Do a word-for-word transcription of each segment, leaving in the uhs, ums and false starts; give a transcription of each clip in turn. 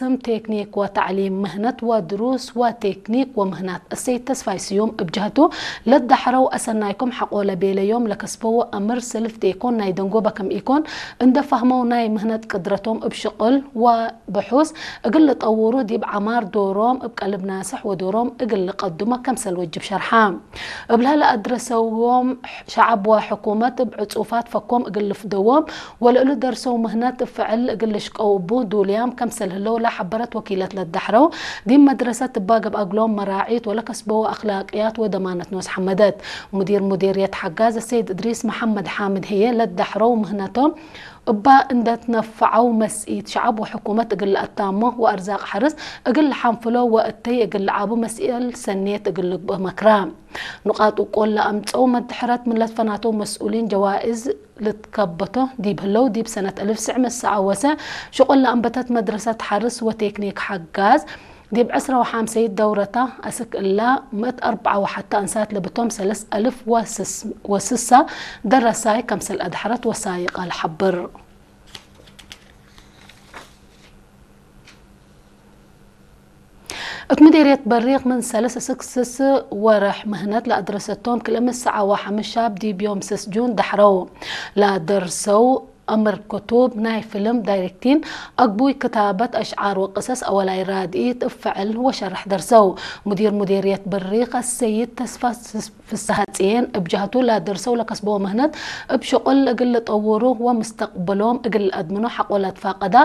ቅስም ቴክኒክ ወተዕሊም ምህነት ወድሩስ ወቴክኒክ ወምህናት እሰይድ ተስፋይ ስዩም እብ ጀህቱ፣ ለዳሕረው አሰናይኩም ሐቆለ ቤለዮም ለከስበው አምር ስልፍ ዴኮን ናይ ደንጎበ ክም ኢኮን እንደ ፈህመው ናይ ምህነት ቅድረቶም እብ ሽቅል ወብሑስ እግል ልጠውሩ ዲብ ዐማር ዶሮም እብ ቀልብ ናስሕ ወዶሮም እግል ልቀድሞ ከምሰል ወጅብ ሸርሐ። እብለ ለአድረሰዎም ሸዐብ ወሕኩመት እብ ዕጹፋት ፈኮም እግል ልፍደዎም ወለእሉ ደርሰው ምህነት እብ ፍዕል እግል ልሽቀው እቡ ዱልያም ከምሰል ህለው ለሐበረት ወኪለት ለዳሕረው፣ ዲብ መድረሰት እባ ገብአ እግሎም መራዒት ወለከስበው አክላቅያት ወደማነት ኖስ ሐመደት። ሙዲር ሙዲርየት ሐጋዝ ሰይድ እድሪስ መሐመድ ሓምድ ህዬ ለዳሕረው ምህነቶም እባ እንደ ትነፈዐው መስኢት ሸዐብ ወሕኩመት እግል ለአታሞ ወአርዛቅ ሐርስ እግል ለሐንፍሎ ወእተይ እግል ለዓቡ መስኤል ሰኔት እግል ልግብእ መክራ። ኑቃጥ ውቁል ለአምጸው መድሕረት ምን ለትፈናተው መስኡሊን ጀዋእዝ ልትከበቶ ዲብ ህለው፣ ዲብ ሰነት አልፍ ትስዕ ምእት ሰዓወሰ ሽቁል ለአንበተት መድረሰት ሐርስ ወቴክኒክ ሐጋዝ፣ ዲብ ዕስራ ወሐምሰይት ደውረታ አስክ እላ ምእት አርበዓ ወሐተ አንሳት ለብቶም ሰለስ አልፍ ወስሳ ደረሳይ ከምሰል አድሐረት ወሳይቀ ለሐብር። እት ምዴርየት በሪቅ ምን ሰለስ እስክ ስስ ወርሕ ምህነት ለአድረሰቶም ክልኤ ምእት ሰዓ ወሐምስ ሻብ ዲብ ዮም ስስ ጁን ደሐረው። ለአደርሰው አምር ክቱብ፣ ናይ ፍልም ዳይሬክቲን፣ አግቡይ ክታበት አሽዓር ወቅሰስ አወላይ ራድኢት እብ ፍዕል ወሸርሕ ደርሰው። ሙዲር ሙዴርየት በሪቅ አሰይድ ተስፋ ፍሰሐጽዬን እብ ጀህቱ ለደርሰው ለከስበው ምህነት እብ ሽቁል እግል ልጠውሩ ወምስተቅብሎም እግል ለአድምኖ ሐቆ ለትፋቀዳ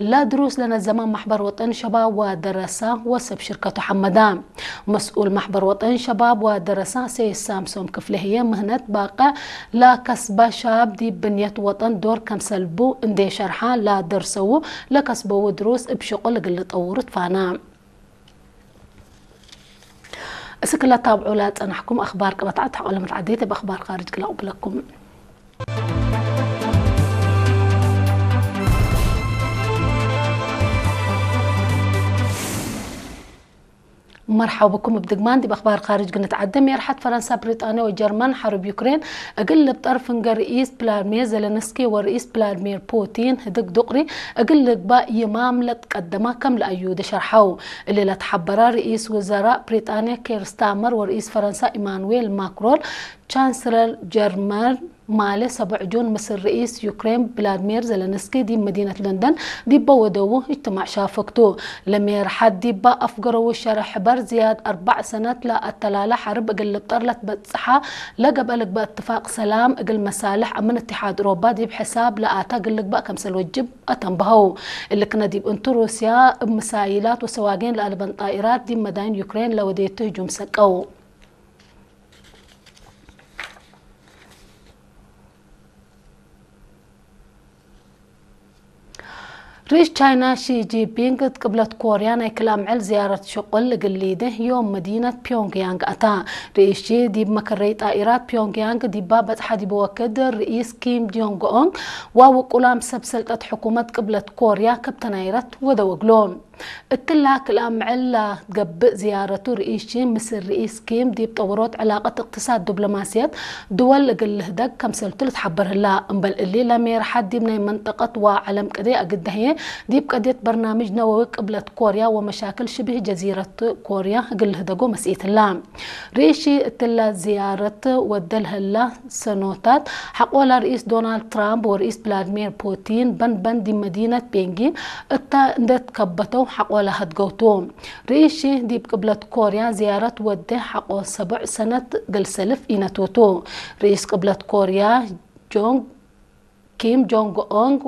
ለድሩስ ለነዘመ ማሕበር ወጠን ሸባብ ወደረሳ ወሰብ ሽርከቱ ሐመዳ። መስኡል ማሕበር ወጠን ሸባብ ወደረሳ ሰይድ ሳምሶም ክፍሌ ህዬ ምህነት ባቅዕ ለከስበ ሻብ ዲብ ብንየት ወጠን ዶር ከምሰልቡ እንዴ ሸርሐ ለደርሰው ለከስበው ድሩስ እብ ሽቁል እግል ልጠውሩ ትፋና። እስክ ለታብዑ ለጸናሕኩም አኽባር ቅበትዐት ሐቆለ መትዓዴት እብ አኽባር ካርጅ ክለ አቅብለኩም። መርሐው ብኩም እብ ድግማን ዲብ አኽባር ካርጅ ግንትዓደ። ሜርሐት ፈረንሳ፣ ብሪጣንያ ወጀርመን ሐርብ ዩክሬን እግል ልብጠር ፍንገ ርኢስ ቭላድሚር ዘለንስኪ ወርኢስ ቭላድሚር ፑቲን ህድግ ዱቅሪ እግል ልግባእ ይማም ለትቀደማ ከም ለአዩደ ሸርሐው። እሊ ለትሐበረ፣ ርኢስ ውዘራእ ብሪጣንያ ኬር ስታመር ወርኢስ ፈረንሳ ኢማኑዌል ማክሮን፣ ቻንስለር ጀርመን ማሌ ሰቡዕ ጁን ምስል ርኢስ ዩክሬን ቭላድሚር ዘለንስኪ ዲብ መዲነት ለንደን ዲበ ወደዉ እጅትማዕ ሻፍግ ቱ። ለሜርሐት ዲበ አፍገረዉ ሸርሕ ሕበር፣ ዝያድ አርበዕ ሰነት ለአተላለ ሐርብ እግል ልብጠር ለትበጽሐ ለገብአ ልግበእ እትፋቅ ሰላም እግል መሳልሕ አምን እትሓድ ኦሮባ ዲብ ሕሳብ ለአተ እግል ልግበእ ከምሰል ወጅብ አተንበሀው። እሊ ክነ ዲብ እንቱ ሩስያ እብ ምሳይላት ወሰዋጌን ለአልበን ጣኢራት ዲብ መዳይን ዩክሬን ለወዴቱ ህጁም ሰቀው። ርኢስ ቻይና ሺ ጂንፒንግ እት ቅብለት ኮርያ ናይ ክል አምዕል ዝያረት ሽቁል እግል ሊዴ ዮም መዲነት ፒዮንግያንግ አታ። ርኢስ ሺ ዲብ መከረይ ጣኢራት ፒዮንግያንግ ዲባ በጽሐ ዲብ ወክድ ርኢስ ኪም ጆንግ ኡንግ ወውቁላም ሰብ ሰልጠት ሕኩመት ቅብለት ኮርያ ክብ ተናይረት ወደው እግሎም። እትላ ክልአ ምዕል ለገብእ ዝያረቱ ርኢስ ሺ ምስል ርኢስ ኪም ዲብ ጠወሮት ዕላቀት እቅትሳድ ዲፕሎማስየት ድወል እግል ልህደግ ከምሰልቱ ልትሐበር ህላ። እምበል እሊ ለሜርሐት ዲብ ናይ መንጠቀት ወዐለም ቅዴ አግደ ህዬ ዲብ ቀድየት በርናምጅ ነወዊ ቅብለት ኮርያ ወመሻክል ሽብህ ጀዚረት ኮርያ እግል ልህደጎ መስኢት ህላ። ርኢስ ሺ እትላ ዝያረት ወደ ለህላ ሰኖታት ሐቆላ ርኢስ ዶናልድ ትራምፕ ወርኢስ ቭላድሚር ፑቲን በን በን ዲብ መዲነት ቤንጊን እተ እንዴ ትከበተው ሐቆላ ሀድገው ቱ። ርኢስ ሺ ዲብ ቅብለት ኮርያ ዝያረት ወዴ ሐቆ ሰቡዕ ሰነት እግል ሰልፍ ኢነቱ ቱ። ርኢስ ቅብለት ኮርያ ጆንግ ኪም ጆንግ ኡንግ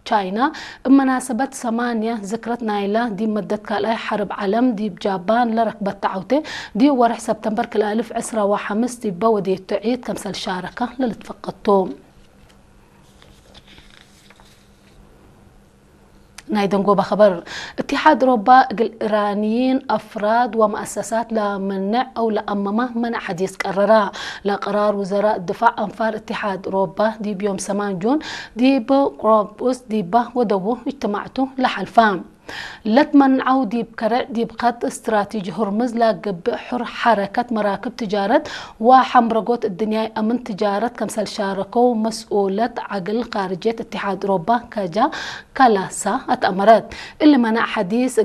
ቻይና እብ መናሰበት ሰማንያ ዝክረት ናይላ ዲብ መደት ካልኣይ ሐርብ ዐለም ዲብ ጃባን ለረክበት ተዐውቴ ዲብ ወርሕ ሰብተምበር ክልኤ አልፍ ዕስራ ወሐምስ ዲበ ወዴቱ ዒድ ከምሰል ሻረከ ለልትፈቀድ ቱ። ናይ ደንጎበ ኸበር። እትሓድ ኦሮባ እግል ኢራንይን አፍራድ ወመአሰሳት ለመንዕ አው ለአመመ መንዕ ሐዲስ ቀረራ። ለቀራር ውዘራእ ድፋዕ አንፋር እትሓድ ኦሮባ ዲብ ዮም ሰማን ጁን ዲብ ቆሮንቡስ ዲባ ወደዉ እጅትማዕቱ ለሐልፋ። ለትመንዐው ዲብ ከረዕ ዲብ ከጥ እስትራቲጂ ሁርምዝ ለገብእ ሑር ሐረከት መራክብ ትጃረት ወሐምረጎት እድንያይ አምን ትጃረት ከምሰል ሻረከው መስኡለት ዐግል ካርጅየት እትሓድ ኦሮባ ካጃ ካላሳ አትአመረት። እሊ መናዕ ሐዲስ